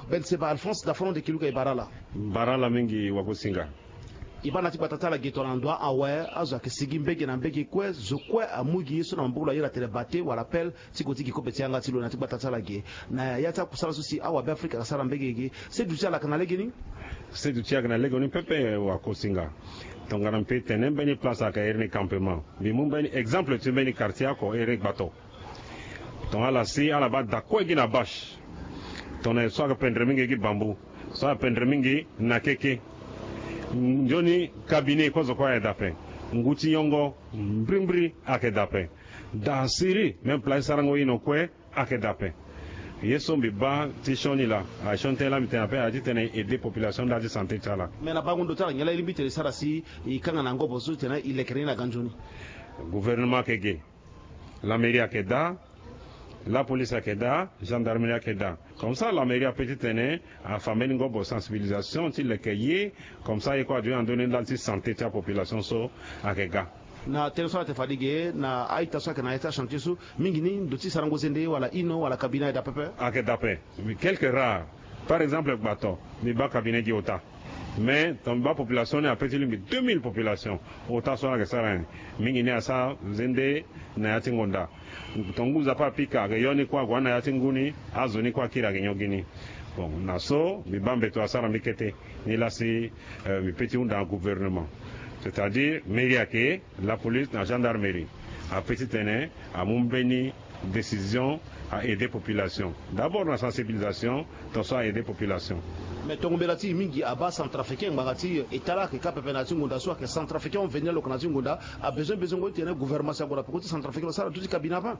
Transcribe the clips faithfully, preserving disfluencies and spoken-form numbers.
Ben Seba Alphonse, dafa na ndo ti kiluka, e bara ala. Bara ala mingi, wakosinga. E bara na ti gbata ti ala ge tongana ndo awe, azo ayeke sigi mbege na mbege kue, zo kue amu gi ye so na maboko na ye, ala tene bate wala pelle, ti gue ti gi kobe ti yanga ti lo na ti gbata ti ala ge. Na ya ti akusala so si awabe Afrika asara mbege ge, seduti ala ayeke na legeni? Seduti ayeke na legeni pepe, wakosinga. Tongana mbi pe tene mbeni place ayeke iri ni campement. Mbi mu mbeni exemple ti mbeni quartier oko iri ni Gbato. Tongana ala si ala baa da kue gi na bâche. Tongana so ayeke pendre mingi gi bambu. So ayeke pendre mingi na keke. Nzoni cabinet kue zo kue ayeke da ape. Ngu ti nyongo mbrimbri ayeke da ape. Da siriri même place ti sarango ino kue ayeke da ape. Ye so mbi baa ti sioni laa, a sioni tënë laa mbi tene ape, a ti tene e aider population nda ti santé ti ala. Mais na bango ndo ti ala nyen laa e lingbi tene e sara si e kanga na ngobo so ti tene e lekere ni na ga nzoni? Gouvernement ayeke ge. La mairie ayeke daa, la police ayeke daa, gendarmerie ayeke daa. Comme ça la mairie ape ti tene afa mbeni ngobo sensibilisation ti leke ye, comme ça ye kue aduti na ndö ni ndali ti santé ti apopulation so ayeke ga. Na tënë so ala tene fade ge na a-ita so ayeke na ya ti achantier so, mingi ni ndo ti sarango zende wala ino wala cabinet ayeke daa pepe? Ayeke daa ape. Quelques rares. Par exemple Gbato, mbi baa cabinet gi ota. Mais tongana mbi baa population ni ape ti lingbi deux mille population. Ota so ala yeke sara ni, mingi ni asara zende na ya ti ngonda. Tongana ngu nzapa apika, ayeke yo ni kue ague na ya ti ngu ni, azo ni kue akiri ayeke nyon gi ni. Bon, na so mbi baa mbeto asara mbi kete. Ni laa si, euh, mbi pe ti hunda na gouvernement, c'est-à-dire mairie ayeke, la police na gendarmerie ape ti tene amu mbeni décision a aider population. D'abord na sensibilisation, tongaso a aider population. Mais tongo mbela ti e mingi abaa centrafricain ngbanga ti e ta laa ayeke ka pepe na ya ti ngonda so ayeke centrafricain ahon venir lo yeke na ya ti ngonda, abesoin besoin ngo ti tene gouvernement si ague na peko ti centrafricain lo sara duti cabinet ape.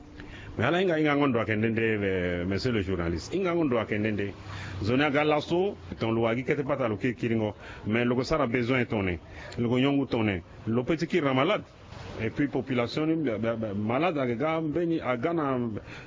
Mais ala hinga, hingango ndo ayeke nde nde, eh, monsieur le journaliste. Hingango ndo ayeke nde nde. Nzoni aga laso, tongana lo wara gi kete pata lo kiri kiringo. Mais lo yeke sara besoin tongana nyen? Lo yeke nyon ngu tongana nyen? Lo pe ti kiri na malade. Et puis population ni, ba, ba, ba, malade ayeke ga mbeni, aga na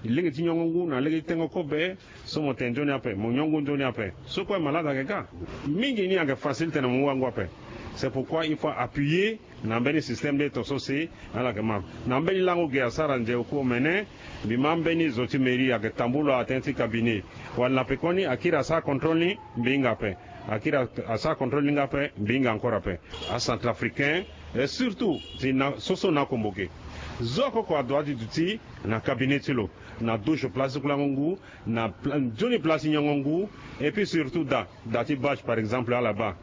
lege ti nyongo ngu na lege ti tengo kobe. So mo tene nzoni ape, mo nyon ngu nzoni ape. So kue malade ayeke ga. Mingi ni ayeke facile tene mo mu wango ape. C'est pourquoi il faut appuyer na mbeni système de to so si ala yeke ma. Na mbeni lango ge asara nze oku omene, mbi ma mbeni zo ti mairie ayeke tambula atene ti cabinet. Wala na pekoni akiri asara contrôle ni, mbi hinga ape. Akiri a, asara contrôle ni nga ape, mbi hinga encore ape. Acentrafricain, et surtout ti na, soso na akombo ge. Zo oko oko adoit ti duti na cabinet ti lo, na douche place ti kulango ngu, na pla, nzoni place ti nyongo ngu, et puis surtout da, da ti bâche par exemple ala baa.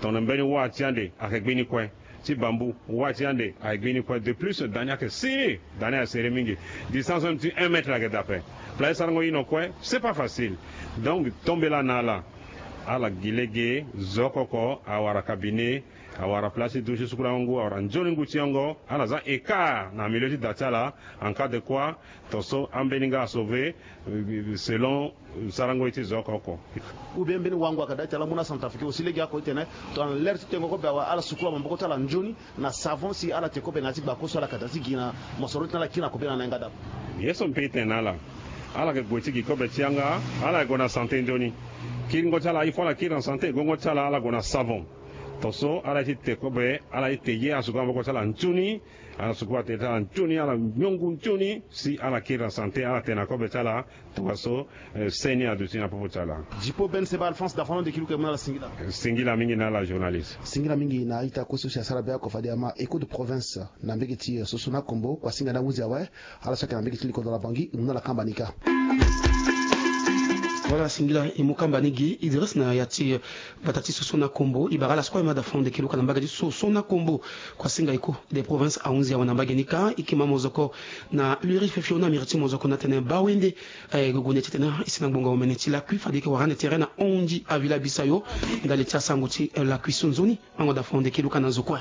Tongana mbeni wâ ti ande ayeke gbi ni kue. Ti bambu, wâ ti ande ayeke gbi ni kue. De plus da ni ayeke serré, da ni ayeke serré mingi. Distance même ti un mètre ayeke da ape. Place ti sarango ino kue, c'est pas facile. Donc tombela na ala. Ala gi lege, zo oko oko awara cabinet, awara place ti douche ti sukulango ngu, awara nzoni ngu ti nyongo, ala za écart na milieu ti da ti ala, en cas de quoi, tongaso ambeni nga asauver, euh, selon, euh, sarango ye ti zo oko oko. Ou bien mbeni wango ayeke daa ti ala mu na centrafricain aussi lege oko ti tene, tongana l'heure ti tengo kobe awe, ala sukula maboko ti ala nzoni na savon si ala te kobe na ya ti gbako so ala yeke daa ti gi na mosoro ti tene ala kiri na kobela na yanga daa. Ye so mbi pe ti tene na ala, ala yeke gue ti gi kobe ti yanga, ala yeke gue na santé nzoni. Kiringo ti ala, il faut ala kiri na santé, gongo ti ala, ala gue na savon. Tongaso ala ye ti te kobe, ala ye ti te ye, ala sukula maboko ti ala nzoni, ala sukula tere ti ala nzoni, ala nyon ngu nzoni, si ala kiri na santé, ala tene na kobe ti ala, tongaso, eh, seni aduti na popo ti ala. Dipo Ben Seba Alphonse, dafa na ndo ti kiluka, e mu na ala singila. Singila mingi na ala journaliste. Singila mingi na a-ita kue so si asara be oko fade ama Echo de Province na mbege ti, eh, Soso na Kombo, kua singa na hunzi awe. Ala so ayeke na mbege ti likodro na Bangui, e mu na ala kamba ni kâ. Voilà, singila, e mu kamba ni gi Idriss na ya ti, eh, gbata ti Soso na Kombo. E bara ala so kue e ma dafa na ndo ti kiluka na mbage ti Soso na Kombo. Kua singa Echo de Province ahunzi awe na mbage ni kâ. E yeke ma mozoko na liri fiofio na miri ti mozoko na tene bawende, eh, gue gue na ya ti tene e si na ngbonga omene ti lakui fade e yeke wara ande tere na hon ti avila bisayo ndali ti asango ti, eh, lakui so nzoni. Ango dafa na ndo ti kiluka na zo kue.